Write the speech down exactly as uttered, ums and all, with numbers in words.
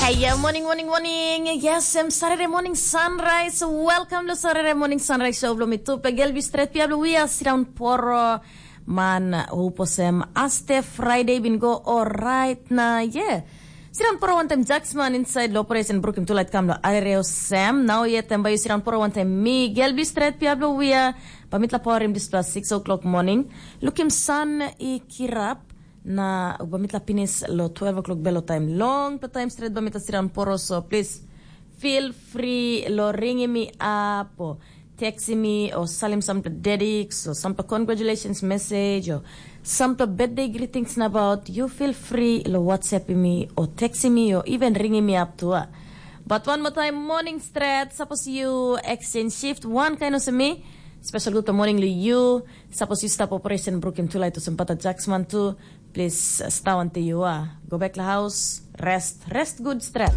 Aia, morning, morning, morning. Yes, em Saturday morning sunrise. Welcome to Saturday morning sunrise show. Belum itu pegel bi straight pia belum ya sidang poro man uposem aste Friday bin go alright na yeah. Sidang poro wantem Jacksman inside lo operation brukim tulait kam lo arereo Sam. Now yet em bayu sidang poro wantem mi gel bi straight pia belum ya. Pamitla power im dispela six o'clock morning. Lukim sun i kirap. Na bai mitla pinis lo twelve o'clock belo taim long pe taim stret bai mitla siran poro, so please feel free lo ringim mi up o textim mi o salim sampela dediks o sampela congratulations message o sampela birthday greetings nabaut, you feel free lo whatsappim mi o textim mi o even ringim mi up tu a. But one more time, morning stret, suppose you exchange shift one kind of me, special good morning lo you. Suppose you stop operation brukim tulait o sempata jaksman tu. Please, uh, stau until you are. Go back to the house, rest, rest good strap.